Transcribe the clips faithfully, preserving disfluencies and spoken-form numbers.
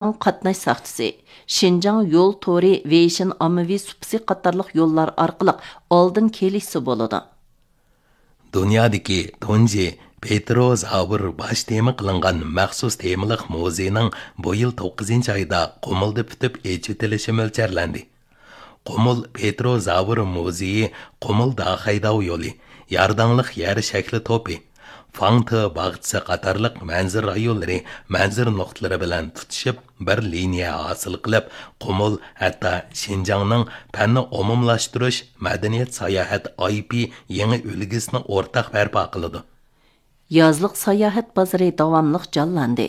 قاتناش ساختىسى، شىنجاڭ يول تورى، ۋېيشىن ئاممىۋى سۇپىسى قاتارلىق يوللار ئارقىلىق ئالدىن كېلىشسە بولىدۇ. دۇنيادىكى تۇنجى پېتروزاۋر باش تېما قىلىنغان مەخسۇس تېمىلىق مۇزېينىڭ بۇ يىل توققۇزىنچى ئايدا قۇمۇلدا پۈتۈپ ئېچىۋېتىلىشى مۆلچەرلەندى. قۇمۇل پېتروزاۋر مۇزېيى، قۇمۇل داخەيداۋ يولى، يارداڭلىق يەر شەكلى توپى، فاڭتې باغچىسى قاتارلىق مەنزىرە رايونلىرى مەنزىرە نۇقتىلىرى بىلەن تۇتىشىپ، بىر لىنىيە ھاسىل قىلىپ، قۇمۇل ھەتتا شىنجاڭنىڭ پەننى ئومۇملاشتۇرۇش مەدەنىيەت ساياھەت ئاي پى يېڭى ئۈلگىسىنى ئورتاق بەرپا قىلىدۇ. يازلىق ساياھەت بازىرى داۋاملىق جانلاندى.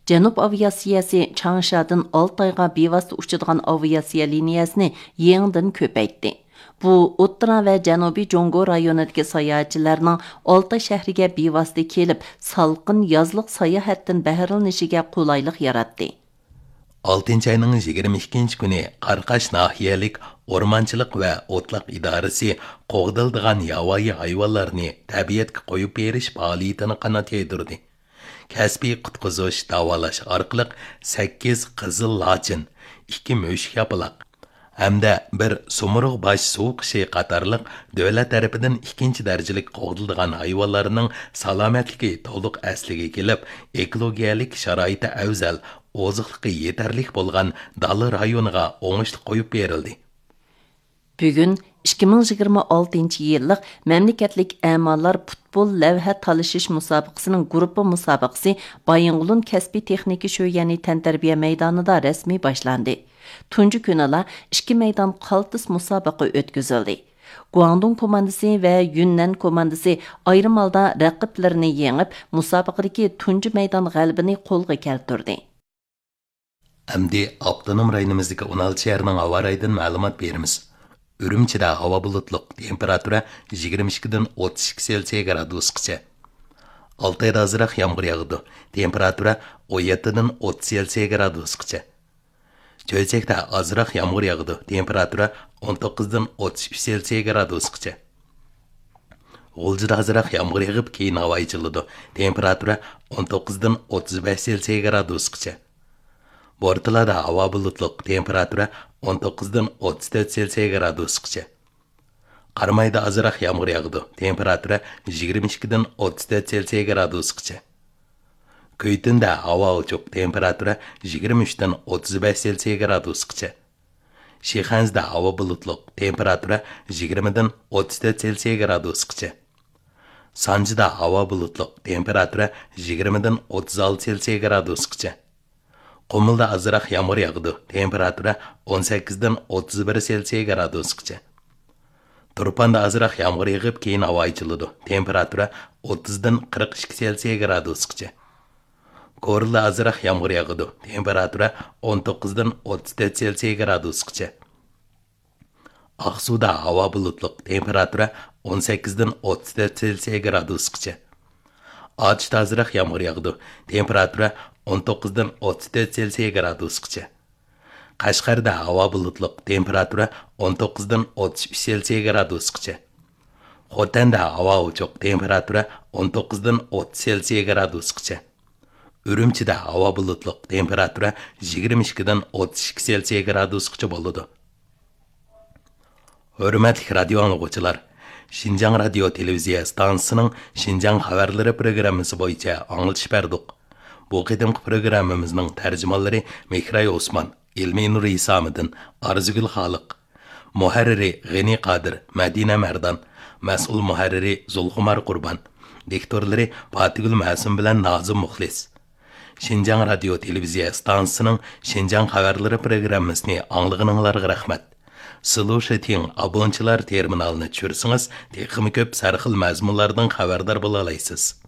جەنۇب ئاۋىئاتسىيەسى چاڭشادىن ئالتايغا بىۋاسىتە ئۇچىدىغان ئاۋىئاتسىيە لىنىيەسىنى يېڭىدىن كۆپەيتتى. بۇ ئوتتۇرا ۋە جەنۇبىي جۇڭگو رايونىدىكى ساياھەتچىلەرنىڭ ئالتاي شەھىرىگە بىۋاسىتە كېلىپ، سالقىن يازلىق ساياھەتتىن بەھرىلىنىشىگە قولايلىق ياراتتى. ئالتىنچى ئاينىڭ يىگىرمە ئىككىنچى كۈنى قاراقاش ناھىيەلىك ئورمانچىلىق ۋە ئوتلاق ئىدارىسى قوغدىلىدىغان ياۋايى ھايۋانلارنى تەبىئەتكە قويۇپ بېرىش پائالىيىتىنى قانات يايدۇردى. كەسپىي قۇتقۇزۇش، داۋالاش ئارقىلىق سەككىز قىزىل لاچىن، ئىككى مۈشۈك ياپىلاق ھەمدە بىر سۇمۇرغ باش سۇ قۇشى قاتارلىق دۆلەت تەرىپىدىن ئىككىنچى دەرىجىلىك قوغدىلىدىغان ھايۋانلارنىڭ سالامەتلىكى تولۇق ئەسلىگە كېلىپ، ئېكولوگىيەلىك شارائىتى ئەۋزەل، ئوزۇقلۇقى يېتەرلىك بولغان دالا رايونىغا ئوڭۇشلۇق قويۇپ بېرىلدى. بۈگۈن ئىككى مىڭ يىگىرمە ئالتىنچى يىللىق مەملىكەتلىك ئەمالار پۇتبول لەۋھە تالىشىش مۇسابىقىسىنىڭ گۇرۇپپا مۇسابىقىسى بايىنغولىن كەسپىي تېخنىكا شۆيۈەنى تەنتەربىيە مەيدانىدا رەسمىي باشلاندى. تۇنجى كۈنىلا ئىككى مەيدان قالتىس مۇسابىقە ئۆتكۈزۈلدى. گۇاڭدۇڭ كوماندىسى ۋە يۈننەن كوماندىسى ئايرىم ھالدا رەقىبلىرىنى يېڭىپ، مۇسابىقىدىكى تۇنجى مەيدان غەلىبىنى قولغا كەلتۈردى. ئەمدى ئاپتونوم رايونىمىزدىكى ئون ئالتە شەھەرنىڭ ھاۋا رايىدىن مەلۇمات بېرىمىز. ئۈرۈمچىدە ھاۋا بۇلۇتلۇق، تېمپېراتۇرا يىگىرمە ئىككىدىن ئوتتۇز ئىككى سېلسىيە گرادۇسقىچە. ئالتايدا ئازراق يامغۇر ياغىدۇ، تېمپېراتۇرا ئون يەتتىدىن ئوتتۇز سېلسىيە گرادۇسقىچە. چۆچەكتە ئازراق يامغۇر ياغىدۇ، تېمپېراتۇرا ئون توققۇزدىن ئوتتۇز ئۈچ سېلسىيە گرادۇسقىچە. غۇلجىدا ئازراق يامغۇر يېغىپ، كېيىن ھاۋا ئېچىلىدۇ، تېمپېراتۇرا ئون توققۇزدىن ئوتتۇز بەش سېلسىيە گرادۇسقىچە. بورتالادا ھاۋا بۇلۇتلۇق، تېمپېراتۇرا ئون توققۇزدىن ئوتتۇز تۆت سېلسىيە گرادۇسقىچە. قارامايدا ئازراق يامغۇر ياغىدۇ، تېمپېراتۇرا يىگىرمە ئىككىدىن ئوتتۇز تۆت سېلسىيە گرادۇسقىچە. كۈيتۈندە ھاۋا ئوچۇق، تېمپېراتۇرا يىگىرمە ئۈچتىن ئوتتۇز بەش سېلسىيە گرادۇسقىچە. شىخەنزىدە ھاۋا بۇلۇتلۇق، تېمپېراتۇرا يىگىرمىدىن ئوتتۇز تۆت سېلسىيە گرادۇسقىچە. سانجىدا ھاۋا بۇلۇتلۇق، تېمپېراتۇرا يىگىرمىدىن ئوتتۇز ئالتە سېلسىيە گرادۇسقىچە. قۇمۇلدا ئازراق يامغۇر ياغىدۇ، تېمپېراتۇرا ئون سەككىزدىن ئوتتۇز بىر سېلسىيە گرادۇسقىچە. تۇرپاندا ئازراق يامغۇر يېغىپ، كېيىن ھاۋا ئېچىلىدۇ، تېمپېراتۇرا ئوتتۇزدىن قىرىق ئىككى سېلسىيە گرادۇسقىچە. كورلىدا ئازراق يامغۇر ياغىدۇ، تېمپېراتۇرا ئون توققۇزدىن ئوتتۇز تۆت سېلسىيە گرادۇسقىچە. ئاقسۇدا ھاۋا بۇلۇتلۇق، تېمپېراتۇرا ئون سەككىزدىن ئوتتۇز تۆت سېلسىيە گرادۇسقىچە. ئاتۇشتا ئازراق يامغۇر ياغىدۇ، تېمپېراتۇرا ئون توققۇزدىن ئوتتۇز تۆت سېلسىيە گرادۇسقىچە. قەشقەردە ھاۋا بۇلۇتلۇق، تېمپېراتۇرا ئون توققۇزدىن ئوتتۇز ئۈچ سېلسىيە گرادۇسقىچە. خوتەندە ھاۋا ئوچۇق، تېمپېراتۇرا ئون توققۇزدىن ئوتتۇز سېلسىيە گرادۇسقىچە. ئۈرۈمچىدە ھاۋا بۇلۇتلۇق، تېمپېراتۇرا يىگىرمە ئىككىدىن ئوتتۇز ئىككى سېلسىيە گرادۇسقىچە بولىدۇ. ھۆرمەتلىك رادىيو ئاڭلىغۇچىلار، شىنجاڭ رادىيو تېلېۋىزىيە ئىستانسىسىنىڭ شىنجاڭ خەۋەرلىرى پروگراممىسى بويىچە ئاڭلىتىش بەردۇق. بۇ قېتىمقى پروگراممىمىزنىڭ تەرجىمانلىرى مېھراي ئوسمان، ئىلمىنۇر ھېسامىدىن، ئارزۇگۈل خالىق. مۇھەررىرى غېنى قادىر، مەدىنە مەردان. مەسئۇل مۇھەررىرى زۇلخۇمار قۇربان. دىكتورلىرى پاتىگۈل مەسۇم بىلەن نازىم مۇخلىس. شىنجاڭ رادىيو تېلېۋىزىيە ئىستانسىسىنىڭ شىنجاڭ خەۋەرلىرى پروگراممىسىنى ئاڭلىغىنىڭلارغا رەھمەت. سلۇشىتىڭ، ئابونچىلار تېرمىنالىنى چۈشۈرسىڭىز، تېخىمۇ كۆپ سەرخىل مەزمۇنلاردىن خەۋەردار بولالايسىز.